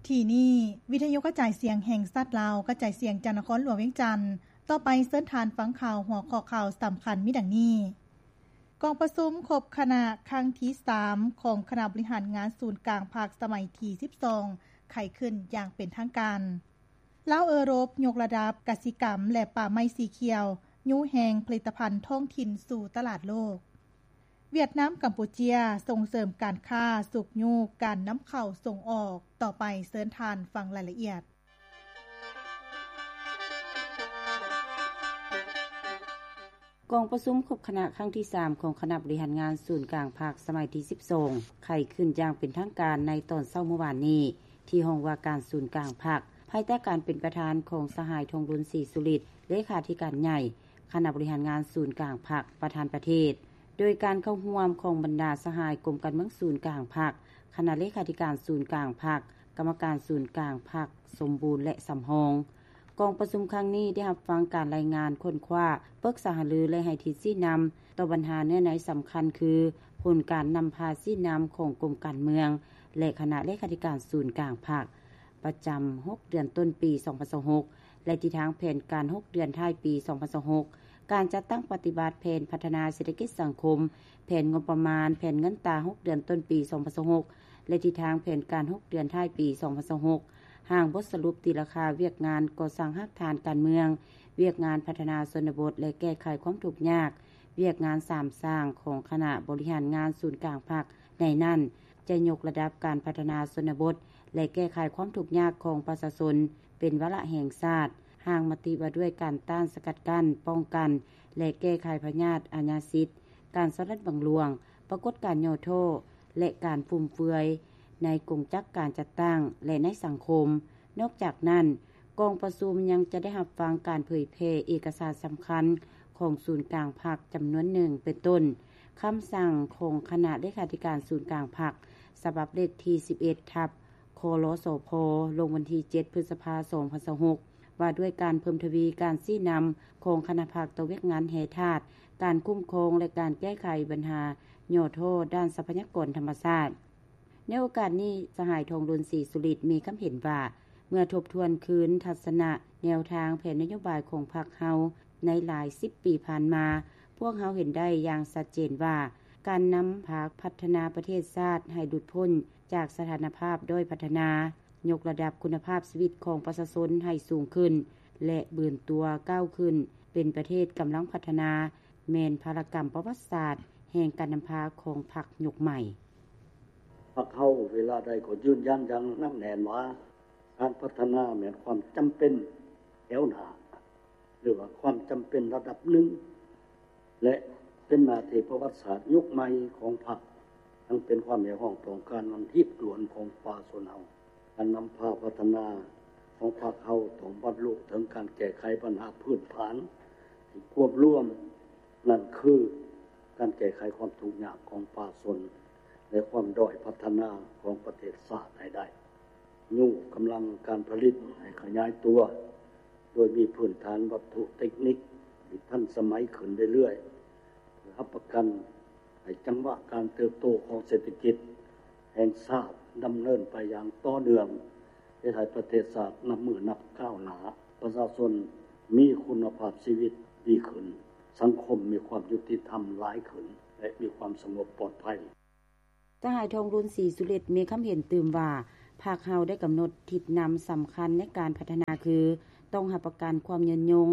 ທີ່ນີ້ ວິທະຍຸກະຈາຍສຽງແຫ່ງຊາດລາວ ກະຈາຍສຽງຈາກນະຄອນຫຼວງວຽງຈັນ. ຕໍ່ໄປເຊີນທ່ານຟັງຂ່າວ ຫົວຂໍ້ຂ່າວສຳຄັນມີດັ່ງນີ້: ກອງປະຊຸມຄົບຄະນະຄັ້ງທີສາມ ຂອງຄະນະບໍລິຫານງານສູນກາງພັກສະໄໝທີສິບສອງ ໄຂຂຶ້ນຢ່າງເປັນທາງການ. ລາວເອີຣົບຍົກລະດັບກະສິກຳ ແລະ ປ່າໄມ້ສີຂຽວ ຍູ້ແຮງຜະລິດຕະພັນທ້ອງຖິ່ນສູ່ຕະຫຼາດໂລກ. ຫວຽດນາມ ກຳປູເຈຍ ສົ່ງເສີມການຄ້າ ຊຸກຍູ້ການນຳເຂົ້າສົ່ງອອກ. ຕໍ່ໄປເຊີນທ່ານຟັງລາຍລະອຽດ. ກອງປະຊຸມຄົບຄະນະຄັ້ງທີສາມ ຂອງຄະນະບໍລິຫານງານສູນກາງພັກສະໄໝທີສິບສອງ ໄຂຂຶ້ນຢ່າງເປັນທາງການໃນຕອນເຊົ້າມື້ວານນີ້ ທີ່ຫ້ອງວ່າການສູນກາງພັກ ພາຍໃຕ້ການເປັນປະທານຂອງສະຫາຍ ທອງລຸນ ສີສຸລິດ ເລຂາທິການໃຫຍ່ ຄະນະບໍລິຫານງານສູນກາງພັກ ປະທານປະເທດ, ໂດຍການເຂົ້າຮ່ວມຂອງບັນດາສະຫາຍກົມການເມືອງສູນກາງພັກ, ຄະນະເລຂາທິການສູນກາງພັກ, ກຳມະການສູນກາງພັກສົມບູນ ແລະ ສຳຮອງ. ກອງປະຊຸມຄັ້ງນີ້ໄດ້ຮັບຟັງການລາຍງານຄົ້ນຄວ້າ, ປຶກສາຫາລື ແລະ ໃຫ້ທິດຊີ້ນຳຕໍ່ບັນຫາເນື້ອໃນສຳຄັນຄື ຜົນການນຳພາຊີ້ນຳຂອງກົມການເມືອງ ແລະ ຄະນະເລຂາທິການສູນກາງພັກ ປະຈຳຫົກເດືອນຕົ້ນປີສອງພັນຊາວຫົກ ແລະ ທິດທາງແຜນການຫົກເດືອນທ້າຍປີສອງພັນຊາວຫົກ, ການຈັດຕັ້ງປະຕິບັດແຜນພັດທະນາເສດຖະກິດສັງຄົມ, ແຜນງົບປະມານ, ແຜນເງິນຕາຫົກເດືອນຕົ້ນປີສອງພັນຊາວຫົກ ແລະ ທິດທາງແຜນການຫົກເດືອນທ້າຍປີສອງພັນຊາວຫົກ, ຮ່າງບົດສະຫຼຸບຕີລາຄາວຽກງານກໍ່ສ້າງຮາກຖານການເມືອງ, ວຽກງານພັດທະນາຊົນນະບົດ ແລະ ແກ້ໄຂຄວາມທຸກຍາກ, ວຽກງານສາມສ້າງຂອງຄະນະບໍລິຫານງານສູນກາງພັກ. ໃນນັ້ນຈະຍົກລະດັບການພັດທະນາຊົນນະບົດ ແລະ ແກ້ໄຂຄວາມທຸກຍາກຂອງປະຊາຊົນເປັນວາລະແຫ່ງຊາດ, ຮ່າງມະຕິວ່າດ້ວຍການຕ້ານສະກັດກັ້ນ, ປ້ອງກັນ ແລະ ແກ້ໄຂພະຍາດອາຍາສິດ, ການສໍ້ລາດບັງຫຼວງ, ປາກົດການຫຍໍ້ທໍ້ ແລະ ການຟຸມເຟືອຍໃນກົງຈັກການຈັດຕັ້ງ ແລະ ໃນສັງຄົມ. ນອກຈາກນັ້ນ, ກອງປະຊຸມຍັງຈະໄດ້ຮັບຟັງການເຜີຍແຜ່ເອກະສານສຳຄັນຂອງສູນກາງພັກຈຳນວນໜຶ່ງ ເປັນຕົ້ນ ຄຳສັ່ງຂອງຄະນະເລຂາທິການສູນກາງພັກ ສະບັບເລກທີສິບເອັດ ທັບ ຄລສພ ລົງວັນທີເຈັດ ພຶດສະພາ ສອງພັນຊາວຫົກ ວ່າດ້ວຍການເພີ່ມທະວີການຊີ້ນຳຂອງຄະນະພັກຕໍ່ວຽກງານແຮ່ທາດ, ການຄຸ້ມຄອງ ແລະ ການແກ້ໄຂບັນຫາຫຍໍ້ທໍ້ດ້ານຊັບພະຍາກອນທຳມະຊາດ. ໃນໂອກາດນີ້, ສະຫາຍ ທອງລຸນ ສີສຸລິດ ມີຄຳເຫັນວ່າ ເມື່ອທົບທວນຄືນທັດສະນະ, ແນວທາງ, ແຜນນະໂຍບາຍຂອງພັກເຮົາໃນຫຼາຍສິບປີຜ່ານມາ, ພວກເຮົາເຫັນໄດ້ຢ່າງຊັດເຈນວ່າ ການນຳພາພັດທະນາປະເທດຊາດໃຫ້ຫຼຸດພົ້ນຈາກສະຖານະພາບດ້ອຍພັດທະນາ, ຍົກລະດັບຄຸນນະພາບຊີວິດຂອງປະຊາຊົນໃຫ້ສູງຂຶ້ນ ແລະ ບືນຕົວກ້າວຂຶ້ນເປັນປະເທດກຳລັງພັດທະນາ ແມ່ນພາລະກຳປະຫວັດສາດແຫ່ງການນຳພາຂອງພັກຍຸກໃໝ່. ພັກເຮົາເວລາໃດກໍຢືນຢັນຢ່າງໜັກແໜ້ນວ່າ ການພັດທະນາແມ່ນຄວາມຈຳເປັນແຖວໜ້າ ຫຼືວ່າຄວາມຈຳເປັນລະດັບໜຶ່ງ ແລະ ເປັນໜ້າທີ່ປະຫວັດສາດຍຸກໃໝ່ຂອງພັກ, ທັງເປັນຄວາມຮຽກຮ້ອງຕ້ອງການອັນຮີບດ່ວນຂອງປະຊາຊົນເຮົາ. ການນຳພາພັດທະນາຂອງພັກເຮົາຕ້ອງບັນລຸເຖິງການແກ້ໄຂບັນຫາພື້ນຖານທີ່ຄວບລວມ, ນັ້ນຄືການແກ້ໄຂຄວາມທຸກຍາກຂອງປະຊາຊົນ ແລະ ຄວາມດ້ອຍພັດທະນາຂອງປະເທດຊາດໃຫ້ໄດ້. ຍູ້ກຳລັງການຜະລິດໃຫ້ຂະຫຍາຍຕົວ ໂດຍມີພື້ນຖານວັດຖຸເຕັກນິກທີ່ທັນສະໄໝຂຶ້ນເລື້ອຍໆ ເພື່ອຮັບປະກັນໃຫ້ຈັງຫວະການເຕີບໂຕຂອງເສດຖະກິດແຫ່ງຊາດດຳເນີນໄປຢ່າງຕໍ່ເນື່ອງ, ເຮັດໃຫ້ປະເທດຊາດນັບມື້ນັບກ້າວໜ້າ, ປະຊາຊົນມີຄຸນນະພາບຊີວິດດີຂຶ້ນ, ສັງຄົມມີຄວາມຍຸຕິທຳຫຼາຍຂຶ້ນ ແລະ ມີຄວາມສະຫງົບປອດໄພ. ສະຫາຍ ທອງລຸນ ສີສຸລິດ ມີຄຳເຫັນຕື່ມວ່າ ພັກເຮົາໄດ້ກຳນົດທິດນຳສຳຄັນໃນການພັດທະນາຄື ຕ້ອງຮັບປະກັນຄວາມຍືນຍົງ,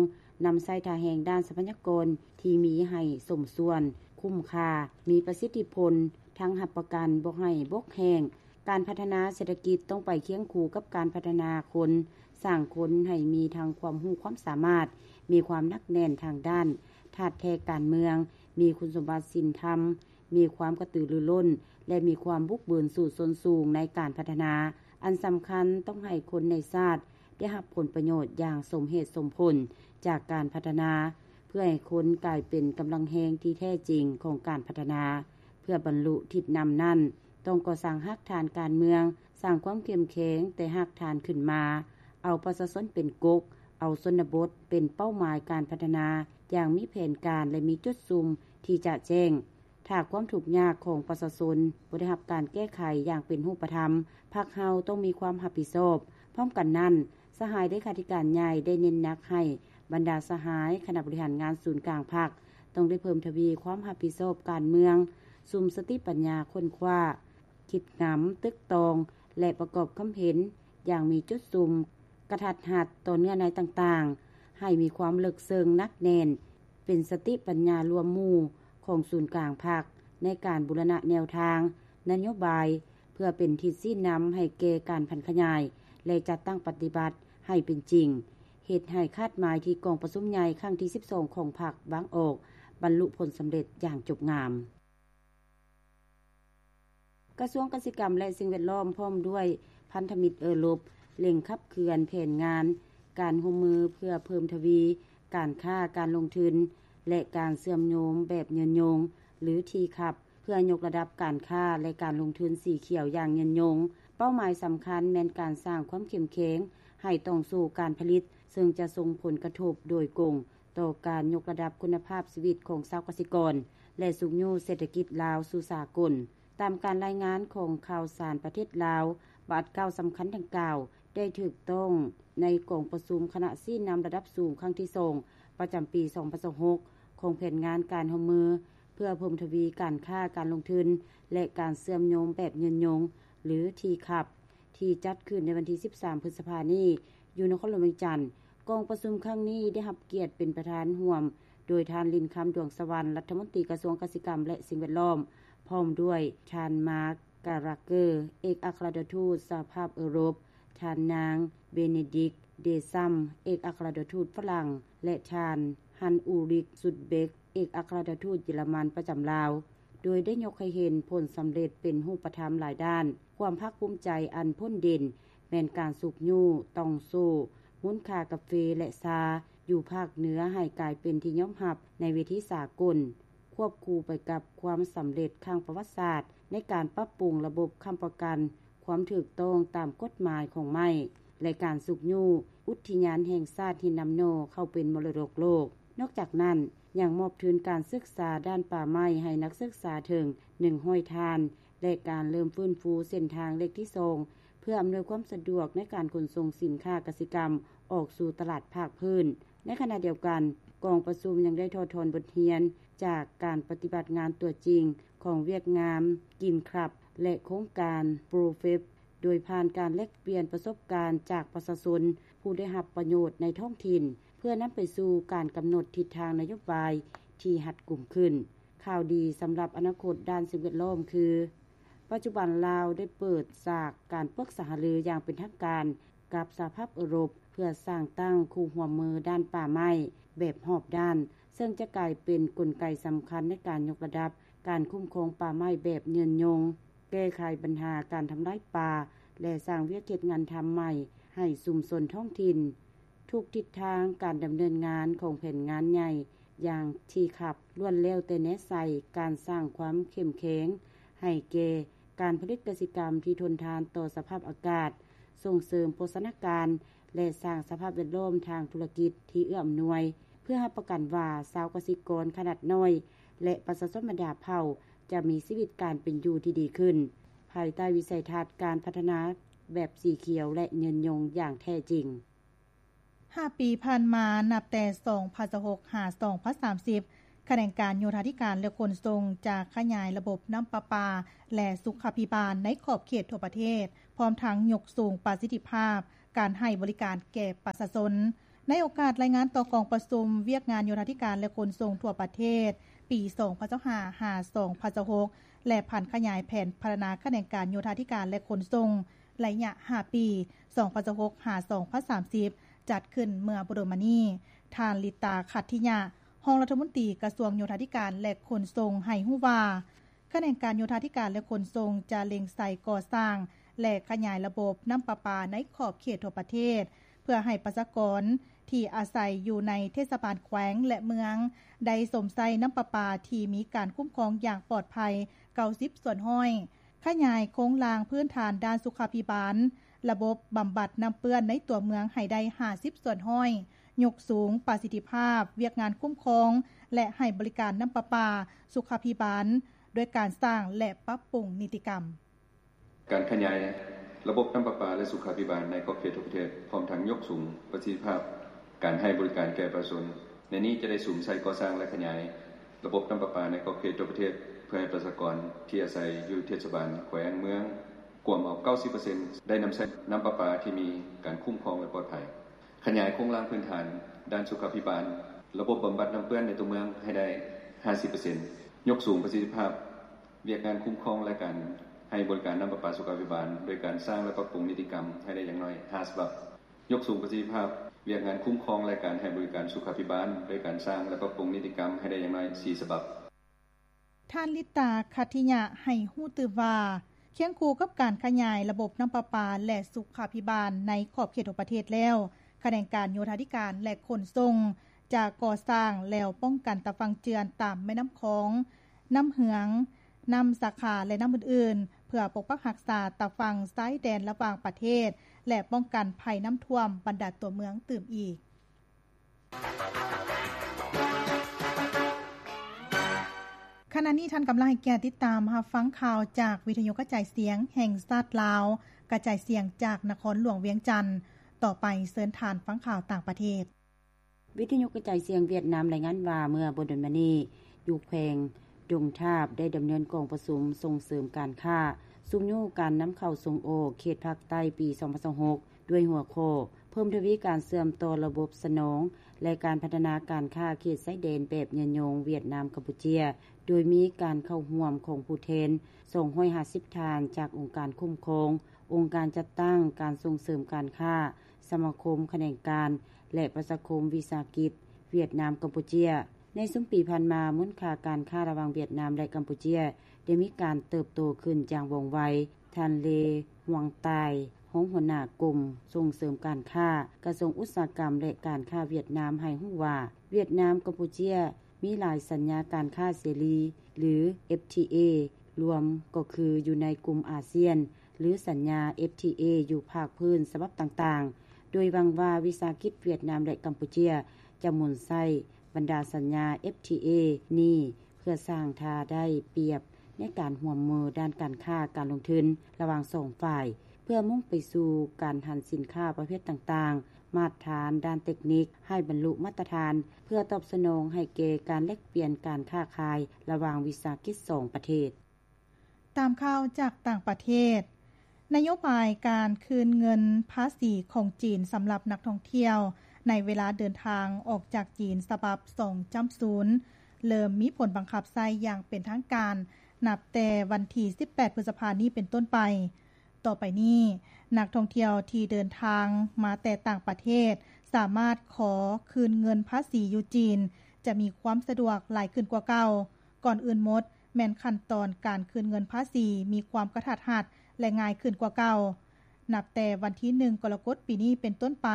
ນຳໃຊ້ທ່າແຮງດ້ານຊັບພະຍາກອນທີ່ມີໃຫ້ສົມສ່ວນ, ຄຸ້ມຄ່າ, ມີປະສິດທິຜົນ, ທັງຮັບປະກັນບໍ່ໃຫ້ບົກແຫ້ງ. ການພັດທະນາເສດຖະກິດຕ້ອງໄປຄຽງຄູ່ກັບການພັດທະນາຄົນ, ສ້າງຄົນໃຫ້ມີທັງຄວາມຮູ້ຄວາມສາມາດ, ມີຄວາມໜັກແໜ້ນທາງດ້ານທາດແທ້ການເມືອງ, ມີຄຸນສົມບັດສິນທຳ, ມີຄວາມກະຕືລືລົ້ນ ແລະ ມີຄວາມບຸກບືນສູ້ຊົນສູງໃນການພັດທະນາ. ອັນສຳຄັນຕ້ອງໃຫ້ຄົນໃນຊາດໄດ້ຮັບຜົນປະໂຫຍດຢ່າງສົມເຫດສົມຜົນຈາກການພັດທະນາ, ເພື່ອໃຫ້ຄົນກາຍເປັນກຳລັງແຮງທີ່ແທ້ຈິງຂອງການພັດທະນາ. ເພື່ອບັນລຸທິດນຳນັ້ນ, ຕ້ອງກໍ່ສ້າງຮາກຖານການເມືອງ, ສ້າງຄວາມເຂັ້ມແຂງແຕ່ຮາກຖານຂຶ້ນມາ, ເອົາປະຊາຊົນເປັນກົກ, ເອົາຊົນນະບົດເປັນເປົ້າໝາຍການພັດທະນາຢ່າງມີແຜນການ ແລະ ມີຈຸດສຸມທີ່ຈະແຈ້ງ. ຖ້າຄວາມທຸກຍາກຂອງປະຊາຊົນບໍ່ໄດ້ຮັບການແກ້ໄຂຢ່າງເປັນຮູບປະທຳ, ພັກເຮົາຕ້ອງມີຄວາມຮັບຜິດຊອບ. ພ້ອມກັນນັ້ນ, ສະຫາຍເລຂາທິການໃຫຍ່ໄດ້ເນັ້ນໜັກໃຫ້ບັນດາສະຫາຍຄະນະບໍລິຫານງານສູນກາງພັກ ຕ້ອງໄດ້ເພີ່ມທະວີຄວາມຮັບຜິດຊອບການເມືອງ, ສຸມສະຕິປັນຍາຄົ້ນຄວ້າ, ຄິດງຳ, ຕຶກຕອງ ແລະ ປະກອບຄຳເຫັນຢ່າງມີຈຸດສຸມ, ກະທັດຮັດຕໍ່ເນື້ອໃນຕ່າງໆ, ໃຫ້ມີຄວາມເລິກເຊິ່ງໜັກແໜ້ນ, ເປັນສະຕິປັນຍາລວມໝູ່ຂອງສູນກາງພັກ ໃນການບູລະນະແນວທາງນະໂຍບາຍ ເພື່ອເປັນທິດຊີ້ນຳໃຫ້ແກ່ການຜັນຂະຫຍາຍ ແລະ ຈັດຕັ້ງປະຕິບັດໃຫ້ເປັນຈິງ, ເຮັດໃຫ້ຄາດໝາຍທີ່ກອງປະຊຸມໃຫຍ່ຄັ້ງທີສິບສອງຂອງພັກວາງອອກ ບັນລຸຜົນສຳເລັດຢ່າງຈົບງາມ. ກະຊວງກະສິກຳ ແລະ ສິ່ງແວດລ້ອມ ພ້ອມດ້ວຍພັນທະມິດເອີຣົບ ເລັ່ງຂັບເຄື່ອນແຜນງານການຮ່ວມມືເພື່ອເພີ່ມທະວີການຄ້າ, ການລົງທຶນ ແລະ ການເຊື່ອມໂຍງແບບຍືນຍົງ ຫຼື ທີຄັບ ເພື່ອຍົກລະດັບການຄ້າ ແລະ ການລົງທຶນສີຂຽວຢ່າງຍືນຍົງ. ເປົ້າໝາຍສຳຄັນແມ່ນການສ້າງຄວາມເຂັ້ມແຂງໃຫ້ຕ່ອງໂສ້ການຜະລິດ, ເຊິ່ງຈະສົ່ງຜົນກະທົບໂດຍກົງ ຕໍ່ການຍົກລະດັບຄຸນນະພາບຊີວິດຂອງຊາວກະສິກອນ ແລະ ຊຸກຍູ້ເສດຖະກິດລາວສູ່ສາກົນ. ຕາມການລາຍງານຂອງຂ່າວສານປະເທດລາວ, ບາດກ້າວສຳຄັນດັ່ງກ່າວໄດ້ຖືກຕ້ອງໃນກອງປະຊຸມຄະນະຊີ້ນຳລະດັບສູງຄັ້ງທີສອງ ປະຈຳປີສອງພັນຊາວຫົກ ຂອງແຜນງານການຮ່ວມມືເພື່ອເພີ່ມທະວີການຄ້າ, ການລົງທຶນ ແລະ ການເຊື່ອມໂຍງແບບຍືນຍົງ ຫຼື ທີຄັບ ທີ່ຈັດຂຶ້ນໃນວັນທີສິບສາມ ພຶດສະພານີ້ ຢູ່ນະຄອນຫຼວງວຽງຈັນ. ກອງປະຊຸມຄັ້ງນີ້ໄດ້ຮັບກຽດເປັນປະທານຮ່ວມໂດຍທ່ານ ລິນຄຳ ດວງສະຫວັນ ລັດຖະມົນຕີກະຊວງກະສິກຳ ແລະ ສິ່ງແວດລ້ອມ, ພ້ອມດ້ວຍທ່ານ ມາກ ກາຣັກເກີ ເອກອັກຄະລັດຖະທູດສະຫະພາບເອີຣົບ, ທ່ານນາງ ເບເນດິກ ເດຊຳ ເອກອັກຄະລັດຖະທູດຝຣັ່ງ ແລະ ທ່ານ ຮັນອູຣິກ ຊຸດເບັກ ເອກອັກຄະລັດຖະທູດເຢຍລະມັນປະຈຳລາວ, ໂດຍໄດ້ຍົກໃຫ້ເຫັນຜົນສຳເລັດເປັນຮູບປະທຳຫຼາຍດ້ານ. ຄວາມພາກພູມໃຈອັນພົ້ນເດັ່ນແມ່ນການຊຸກຍູ້ຕ່ອງໂສ້ມູນຄ່າກາເຟ ແລະ ຊາ ຢູ່ພາກເໜືອໃຫ້ກາຍເປັນທີ່ຍອມຮັບໃນເວທີສາກົນ, ຄວບຄູ່ໄປກັບຄວາມສຳເລັດຄັ້ງປະຫວັດສາດໃນການປັບປຸງລະບົບຄ້ຳປະກັນຄວາມຖືກຕ້ອງຕາມກົດໝາຍຂອງໄມ້ ແລະ ການຊຸກຍູ້ອຸດທິຍານແຫ່ງຊາດຫີນນ້ຳໜໍ່ເຂົ້າເປັນມໍລະດົກໂລກ. ນອກຈາກນັ້ນ, ຍັງມອບທຶນການສຶກສາດ້ານປ່າໄມ້ໃຫ້ນັກສຶກສາເຖິງໜຶ່ງຮ້ອຍທ່ານ ແລະ ການເລີ່ມຟື້ນຟູເສັ້ນທາງເລກທີສອງ ເພື່ອອຳນວຍຄວາມສະດວກໃນການຂົນສົ່ງສິນຄ້າກະສິກຳອອກສູ່ຕະຫຼາດພາກພື້ນ. ໃນຂະນະດຽວກັນ, ກອງປະຊຸມຍັງໄດ້ຖອດຖອນບົດຮຽນຈາກການປະຕິບັດງານຕົວຈິງຂອງວຽກງານ Green Club ແລະ ໂຄງການ ProFEP ໂດຍຜ່ານການແລກປ່ຽນປະສົບການຈາກປະຊາຊົນຜູ້ໄດ້ຮັບປະໂຫຍດໃນທ້ອງຖິ່ນ ເພື່ອນຳໄປສູ່ການກຳນົດທິດທາງນະໂຍບາຍທີ່ຮັດກຸມຂຶ້ນ. ຂ່າວດີສຳລັບອະນາຄົດດ້ານສິ່ງແວດລ້ອມຄື ປັດຈຸບັນລາວໄດ້ເປີດສາກການປຶກສາຫາລືຢ່າງເປັນທາງການກັບສະຫະພາບເອີຣົບ ເພື່ອສ້າງຕັ້ງຄູ່ຮ່ວມມືດ້ານປ່າໄມ້ແບບຮອບດ້ານ, ເຊິ່ງຈະກາຍເປັນກົນໄກສຳຄັນໃນການຍົກລະດັບການຄຸ້ມຄອງປ່າໄມ້ແບບຍືນຍົງ, ແກ້ໄຂບັນຫາການທຳລາຍປ່າ ແລະ ສ້າງວຽກເຮັດງານທຳໃໝ່ໃຫ້ຊຸມຊົນທ້ອງຖິ່ນ. ທຸກທິດທາງການດຳເນີນງານຂອງແຜນງານໃຫຍ່ຢ່າງ ທີຄັບ ລ້ວນແລ້ວແຕ່ແນໃສ່ການສ້າງຄວາມເຂັ້ມແຂງໃຫ້ແກ່ການຜະລິດກະສິກຳທີ່ທົນທານຕໍ່ສະພາບອາກາດ, ສົ່ງເສີມໂພຊະນາການ ແລະ ສ້າງສະພາບແວດລ້ອມທາງທຸລະກິດທີ່ເອື້ອອຳນວຍ ເພື່ອຮັບປະກັນວ່າຊາວກະສິກອນຂະໜາດນ້ອຍ ແລະ ປະຊາຊົນບັນດາເຜົ່າຈະມີຊີວິດການເປັນຢູ່ທີ່ດີຂຶ້ນ ພາຍໃຕ້ວິໄສທັດການພັດທະນາແບບສີຂຽວ ແລະ ຍືນຍົງຢ່າງແທ້ຈິງ. ຫ້າປີຜ່ານມາ, ນັບແຕ່ສອງພັນຊາວຫົກ ຫາ ສອງພັນສາມສິບ, ຂະແໜງການໂຍທາທິການ ແລະ ຂົນສົ່ງ ຈະຂະຫຍາຍລະບົບນ້ຳປະປາ ແລະ ສຸຂາພິບານໃນຂອບເຂດທົ່ວປະເທດ, ພ້ອມທັງຍົກສູງປະສິດທິພາບການໃຫ້ບໍລິການແກ່ປະຊາຊົນ. ໃນໂອກາດລາຍງານຕໍ່ກອງປະຊຸມວຽກງານໂຍທາທິການ ແລະ ຂົນສົ່ງທົ່ວປະເທດ ປີສອງພັນຊາວຫ້າ ຫາ ສອງພັນຊາວຫົກ ແລະ ຜັນຂະຫຍາຍແຜນພັດທະນາຂະແໜງການໂຍທາທິການ ແລະ ຂົນສົ່ງ ໄລຍະຫ້າປີ ສອງພັນຊາວຫົກ ຫາ ສອງພັນສາມສິບ ຈັດຂຶ້ນເມື່ອບໍ່ດົນມານີ້, ທ່ານ ລິຕາ ຂັດທິຍະ ຮອງລັດຖະມົນຕີກະຊວງໂຍທາທິການ ແລະ ຂົນສົ່ງ ໃຫ້ຮູ້ວ່າ ຂະແໜງການໂຍທາທິການ ແລະ ຂົນສົ່ງ ຈະເລັ່ງໃສ່ກໍ່ສ້າງ ແລະ ຂະຫຍາຍລະບົບນ້ຳປະປາໃນຂອບເຂດທົ່ວປະເທດ ເພື່ອໃຫ້ປະຊາກອນທີ່ອາໄສຢູ່ໃນເທດສະບານແຂວງ ແລະ ເມືອງ ໄດ້ຊົມໃຊ້ນ້ຳປະປາທີ່ມີການຄຸ້ມຄອງຢ່າງປອດໄພ ເກົ້າສິບສ່ວນຮ້ອຍ, ຂະຫຍາຍໂຄງລ່າງພື້ນຖານດ້ານສຸຂາພິບານ, ລະບົບບຳບັດນ້ຳເປື້ອນໃນຕົວເມືອງໃຫ້ໄດ້ ຫ້າສິບສ່ວນຮ້ອຍ, ຍົກສູງປະສິດທິພາບວຽກງານຄຸ້ມຄອງ ແລະ ໃຫ້ບໍລິການນ້ຳປະປາສຸຂາພິບານ ດ້ວຍການສ້າງ ແລະ ປັບປຸງນິຕິກຳ. ການຂະຫຍາຍລະບົບນ້ຳປະປາ ແລະ ສຸຂາພິບານໃນຂອບເຂດທົ່ວປະເທດ ພ້ອມທັງຍົກສູງປະສິດທິພາບການໃຫ້ບໍລິການແກ່ປະຊາຊົນ. ໃນນີ້ຈະໄດ້ສຸມໃສ່ກໍ່ສ້າງ ແລະ ຂະຫຍາຍລະບົບນ້ຳປະປາໃນຂອບເຂດທົ່ວປະເທດ ເພື່ອໃຫ້ປະຊາກອນທີ່ອາໄສຢູ່ເທດສະບານ, ແຂວງ, ເມືອງ ກວມເອົາ ເກົ້າສິບເປີເຊັນ ໄດ້ນຳໃຊ້ນ້ຳປະປາທີ່ມີການຄຸ້ມຄອງ ແລະ ປອດໄພ. ຂະຫຍາຍໂຄງລ່າງພື້ນຖານດ້ານສຸຂາພິບານ, ລະບົບບຳບັດນ້ຳເປື້ອນໃນຕົວເມືອງໃຫ້ໄດ້ ຫ້າສິບເປີເຊັນ, ຍົກສູງປະສິດທິພາບວຽກງານຄຸ້ມຄອງ ແລະ ການໃຫ້ບໍລິການນ້ຳປະປາສຸຂາພິບານ ໂດຍການສ້າງ ແລະ ປັບປຸງນິຕິກຳໃຫ້ໄດ້ຢ່າງໜ້ອຍ ຫ້າ ສະບັບ, ຍົກສູງປະສິດທິພາບວຽກງານຄຸ້ມຄອງ ແລະ ການໃຫ້ບໍລິການສຸຂາພິບານ ໂດຍການສ້າງ ແລະ ປັບປຸງນິຕິກຳໃຫ້ໄດ້ຢ່າງໜ້ອຍ ສີ່ ສະບັບ. ທ່ານ ລິດຕາ ຄັດທິຍະ ໃຫ້ຮູ້ຕື່ມວ່າ ຄຽງຄູ່ກັບການຂະຫຍາຍລະບົບນ້ຳປະປາ ແລະ ສຸຂາພິບານໃນຂອບເຂດທົ່ວປະເທດແລ້ວ, ຂະແໜງການໂຍທາທິການ ແລະ ຂົນສົ່ງ ຈະກໍ່ສ້າງແລວປ້ອງກັນຕາຝັ່ງເຈື່ອນຕາມແມ່ນ້ຳຂອງ, ນ້ຳເຫືອງ, ນ້ຳສາຂາ ແລະ ນ້ຳອື່ນໆ ເພື່ອປົກປັກຮັກສາຕາຝັ່ງຊາຍແດນລະຫວ່າງປະເທດ ແລະ ປ້ອງກັນໄພນ້ຳຖ້ວມບັນດາຕົວເມືອງຕື່ມອີກ. ຂະນະນີ້ທ່ານກຳລັງໃຫ້ກຽດຕິດຕາມຮັບຟັງຂ່າວຈາກວິທະຍຸກະຈາຍສຽງແຫ່ງຊາດລາວ, ກະຈາຍສຽງຈາກນະຄອນຫຼວງວຽງຈັນ. ຕໍ່ໄປເຊີນທ່ານຟັງຂ່າວຕ່າງປະເທດ. ວິທະຍຸກະຈາຍສຽງຫວຽດນາມລາຍງານວ່າ ເມື່ອບໍ່ດົນມານີ້ ຢູ່ແຂວງດົງທາບ ໄດ້ດຳເນີນກອງປະຊຸມສົ່ງເສີມການຄ້າ, ຊຸກຍູ້ການນຳເຂົ້າສົ່ງອອກເຂດພາກໃຕ້ປີສອງພັນຊາວຫົກ ດ້ວຍຫົວຂໍ້ ເພີ່ມທະວີການເຊື່ອມຕໍ່ລະບົບສະໜອງ ແລະ ການພັດທະນາການຄ້າເຂດຊາຍແດນແບບຍືນຍົງ ຫວຽດນາມ-ກຳປູເຈຍ ໂດຍມີການເຂົ້າຮ່ວມຂອງຜູ້ແທນສອງຮ້ອຍຫ້າສິບທ່ານ ຈາກອົງການຄຸ້ມຄອງ, ອົງການຈັດຕັ້ງ, ການສົ່ງເສີມການຄ້າ, ສະມາຄົມຂະແໜງການ ແລະ ປະຊາຄົມວິສາຫະກິດ ຫວຽດນາມ-ກຳປູເຈຍ. ໃນຊຸມປີຜ່ານມາ, ມູນຄ່າການຄ້າລະຫວ່າງຫວຽດນາມ ແລະ ກຳປູເຈຍ ໄດ້ມີການເຕີບໂຕຂຶ້ນຢ່າງວ່ອງໄວ. ທ່ານ ເລ ຫວງຕາຍ ຮອງຫົວໜ້າກົມສົ່ງເສີມການຄ້າ ກະຊວງອຸດສາຫະກຳ ແລະ ການຄ້າຫວຽດນາມ ໃຫ້ຮູ້ວ່າ ຫວຽດນາມ-ກຳປູເຈຍ ມີຫຼາຍສັນຍາການຄ້າເສລີ ຫຼື ເອັຟທີເອ ລວມກໍຄືຢູ່ໃນກຸ່ມອາຊຽນ ຫຼື ສັນຍາ ເອັຟທີເອ ຢູ່ພາກພື້ນສະບັບຕ່າງໆ, ໂດຍຫວັງວ່າວິສາຫະກິດຫວຽດນາມ ແລະ ກຳປູເຈຍ ຈະໝູນໃຊ້ບັນດາສັນຍາ ເອັຟທີເອ ນີ້ ເພື່ອສ້າງທ່າໄດ້ປຽບໃນການຮ່ວມມືດ້ານການຄ້າການລົງທຶນລະຫວ່າງສອງຝ່າຍ, ເພື່ອມຸ່ງໄປສູ່ການຫັນສິນຄ້າປະເພດຕ່າງໆ, ມາດຖານດ້ານເຕັກນິກໃຫ້ບັນລຸມາດຕະຖານ, ເພື່ອຕອບສະໜອງໃຫ້ແກ່ການແລກປ່ຽນການຄ້າຂາຍລະຫວ່າງວິສາຫະກິດສອງປະເທດ. ຕາມຂ່າວຈາກຕ່າງປະເທດ, ນະໂຍບາຍການຄືນເງິນພາສີຂອງຈີນສຳລັບນັກທ່ອງທ່ຽວໃນເວລາເດີນທາງອອກຈາກຈີນ ສະບັບສອງຈ້ຳສູນ ເລີ່ມມີຜົນບັງຄັບໃຊ້ຢ່າງເປັນທາງການ ນັບແຕ່ວັນທີສິບແປດ ພຶດສະພານີ້ເປັນຕົ້ນໄປ. ຕໍ່ໄປນີ້, ນັກທ່ອງທ່ຽວທີ່ເດີນທາງມາແຕ່ຕ່າງປະເທດ ສາມາດຂໍຄືນເງິນພາສີຢູ່ຈີນ ຈະມີຄວາມສະດວກຫຼາຍຂຶ້ນກວ່າເກົ່າ. ກ່ອນອື່ນໝົດ, ແມ່ນຂັ້ນຕອນການຄືນເງິນພາສີມີຄວາມກະທັດຮັດ ແລະ ງ່າຍຂຶ້ນກວ່າເກົ່າ. ນັບແຕ່ວັນທີໜຶ່ງ ກໍລະກົດປີນີ້ເປັນຕົ້ນໄປ,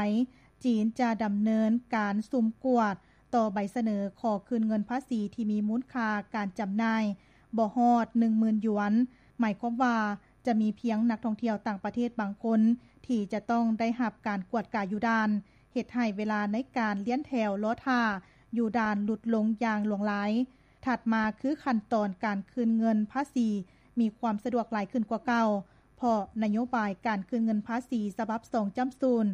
ຈີນຈະດຳເນີນການສຸ່ມກວດຕໍ່ໃບສະເໜີຂໍຄືນເງິນພາສີທີ່ມີມູນຄ່າການຈຳໜ່າຍບໍ່ຮອດໜຶ່ງໝື່ນຢວນ, ໝາຍຄວາມວ່າຈະມີພຽງນັກທ່ອງທ່ຽວຕ່າງປະເທດບາງຄົນທີ່ຈະຕ້ອງໄດ້ຮັບການກວດກາຢູ່ດ່ານ, ເຮັດໃຫ້ເວລາໃນການລຽນແຖວລໍຖ້າຢູ່ດ່ານຫຼຸດລົງຢ່າງຫຼວງຫຼາຍ. ຖັດມາຄືຂັ້ນຕອນການຄືນເງິນພາສີມີຄວາມສະດວກຫຼາຍຂຶ້ນກວ່າເກົ່າ, ເພາະນະໂຍບາຍການຄືນເງິນພາສີສະບັບສອງຈ້ຳສູນ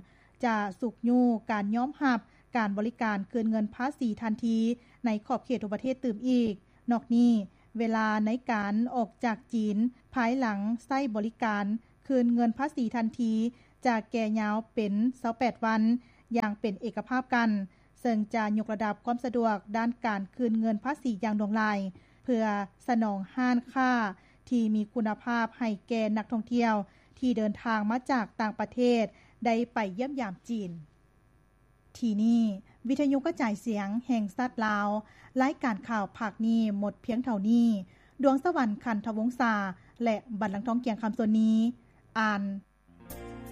ຈະຊຸກຍູ້ການຍອມຮັບການບໍລິການຄືນເງິນພາສີທັນທີໃນຂອບເຂດທົ່ວປະເທດຕື່ມອີກ. ນອກນີ້, ເວລາໃນການອອກຈາກຈີນພາຍຫຼັງໃຊ້ບໍລິການຄືນເງິນພາສີທັນທີ ຈະແກ່ຍາວເປັນຊາວແປດວັນຢ່າງເປັນເອກະພາບກັນ, ເຊິ່ງຈະຍົກລະດັບຄວາມສະດວກດ້ານການຄືນເງິນພາສີຢ່າງຫຼວງຫຼາຍ ເພື່ອສະໜອງຮ້ານຄ້າທີ່ມີຄຸນນະພາບໃຫ້ແກ່ນັກທ່ອງທ່ຽວທີ່ເດີນທາງມາຈາກຕ່າງປະເທດໄດ້ໄປຢ້ຽມຢາມຈີນ. ທີ່ນີ້ ວິທະຍຸກະຈາຍສຽງແຫ່ງຊາດລາວ, ລາຍການຂ່າວພາກນີ້ໝົດພຽງເທົ່ານີ້. ດວງສະຫວັນ ຂັນທະວົງສາ ແລະ ບັນລັງທອງ ກຽງຄຳ ສ່ວນນີ້ ອ່ານ